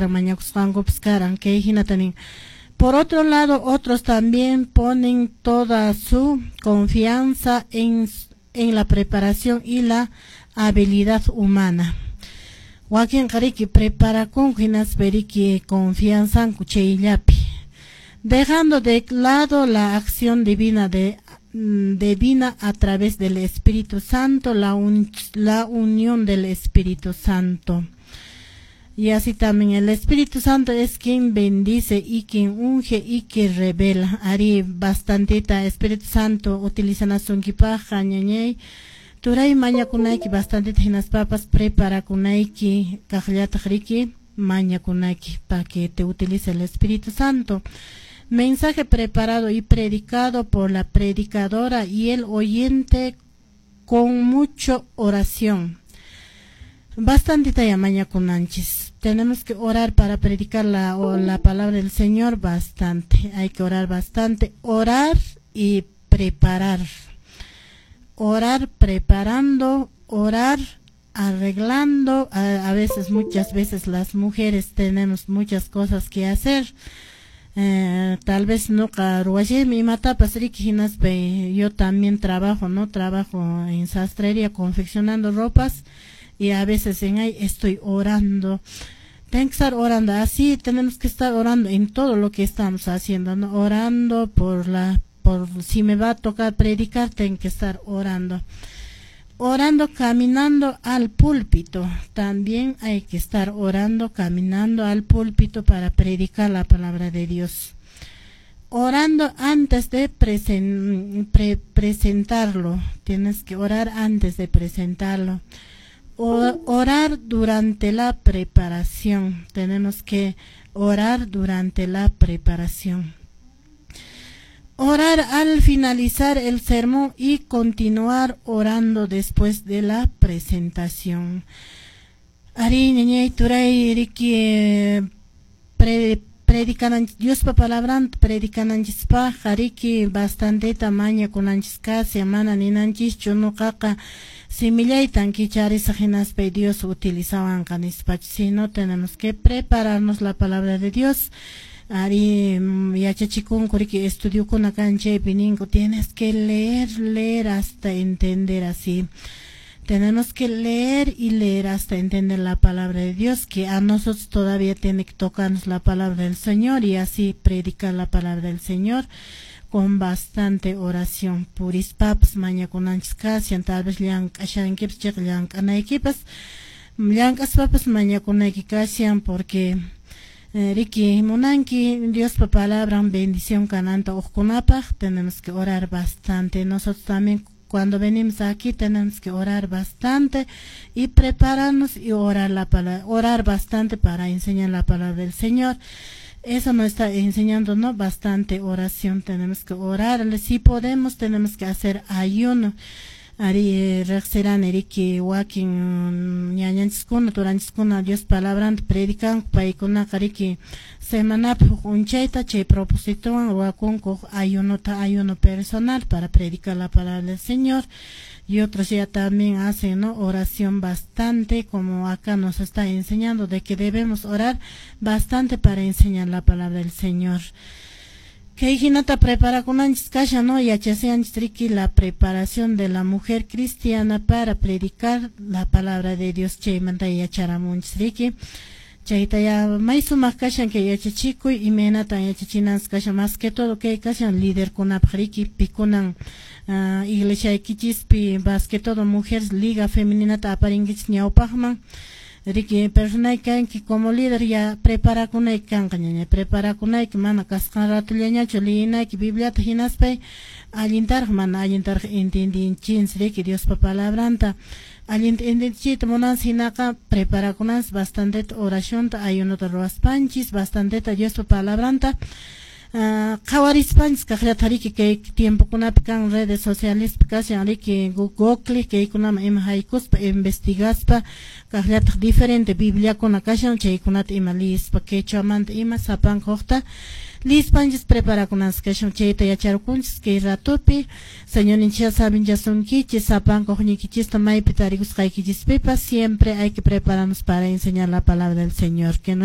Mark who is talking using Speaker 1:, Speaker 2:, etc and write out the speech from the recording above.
Speaker 1: Mañakusqankupas karan kay hinata nin. Por otro lado, otros también ponen toda su confianza en la preparación y la habilidad humana. Wakinqa riki preparakunku hinaspa riki confianzanku chayllapi, dejando de lado la acción divina a través del Espíritu Santo, la unión del Espíritu Santo. Y así también el Espíritu Santo es quien bendice y quien unge y que revela. Arí, bastantita Espíritu Santo utilizanasunkipaqqa, ñañay, turay, mañakunayki bastantita hinaspapas preparakunayki kaqllataq riki mañakunayki para que te utilice el Espíritu Santo. Mensaje preparado y predicado por la predicadora y el oyente con mucho oración. Bastantita ya mañakunanchis. Tenemos que orar para predicar la palabra del Señor bastante. Hay que orar bastante. Orar y preparar. Orar preparando, orar arreglando. A veces, muchas veces las mujeres tenemos muchas cosas que hacer. Tal vez nuqa ruwashaymi imatapas riki hinaspa yo también trabajo, ¿no? Trabajo en sastrería confeccionando ropas y a veces en ahí estoy orando. Tengo que estar orando, así tenemos que estar orando en todo lo que estamos haciendo, ¿no? Orando por si me va a tocar predicar, tengo que estar orando. Orando caminando al púlpito. También hay que estar orando caminando al púlpito para predicar la palabra de Dios. Orando antes de presentarlo. Tienes que orar antes de presentarlo. Orar durante la preparación. Tenemos que orar durante la preparación. Orar al finalizar el sermón y continuar orando después de la presentación. Arí, ñañay, turay, riki predicananchis Diospa palabranta predicananchispaqqa riki bastanteta mañakunanchis kashan, mana ninanchischu nuqaqa simillaytan kicharisaq hinaspa Dios utilizawanqa nispachu, sino tenemos que prepararnos la palabra de Dios. Arí, yachachikunku riki estudiokuna kan chaypi ninku tienes que leer, leer hasta entender. Así tenemos que leer y leer hasta entender la palabra de Dios, que a nosotros todavía tiene que tocarnos la palabra del Señor y así predicar la palabra del Señor con bastante oración. Purispapas mañakunanchis kashan, tal vez llank'ashankipas chayqa llank'anaykipas, llank'aspapas mañakunayki kashan porque riki munanki Diospa palabran bendición kananta hukkunapaq, tenemos que orar bastante. Nosotros también cuando venimos aquí tenemos que orar bastante y prepararnos y orar la palabra, orar bastante para enseñar la palabra del Señor. Eso nos está enseñando, ¿no? Bastante oración, tenemos que orar. Si podemos, tenemos que hacer ayuno. Arí, riqsirani riki wakin ñañanchiskuna turanchiskuna Dios palabranta predicanku paykunaqa riki semanapi huk p'unchayta chay propositowan ruwakunku ayunota, ayuno personal para predicar la palabra del Señor, y otros ya también hacen, ¿no?, oración bastante, como acá nos está enseñando de que debemos orar bastante para enseñar la palabra del Señor. Kay hinata preparakunanchis kashan, ¿no? Yachashanchis riki la preparación de la mujer cristiana para predicar la palabra de Dios, chaymanta yacharamunchis riki. Chayta ya may sumaq kashan kay yachachikuy imaynatan yachachinanchis kashan, más que todo kay kashan liderkunapaq riki pikunan iglesiaykichispi más que todo mujeres liga femeninata aparinkichis ñawpaqman riki personayki kanki como líder ya preparakunayki kanqa, ñañay, preparakunayki mana kasqan ratollañachu liyinayki Bibliata hinaspay allintaraq mana allintaraq entendinchis riki Diospa palabranta allinta entendichiyta munanchis hinaqa preparakunanchis bastanteta oracionta ayunota ruwaspanchis bastanteta Diospa palabranta qhawarispanchis kaqllata riki kay tiempokunapi kan redes socialespi kashan riki Google kaykunaman ima haykuspa investigaspa kaqllataq diferente bibliakuna kashan chaykunata ima liyispa quechuamanta ima sapanka hukta liyispanchis preparakunanchis kashan. Chayta yacharqunchis kay ratopi. Señorninchis saminchasunkichis sapanka hukniykichista maypi tarikusqaykichispipas. Siempre hay que prepararnos para enseñar la palabra del Señor que no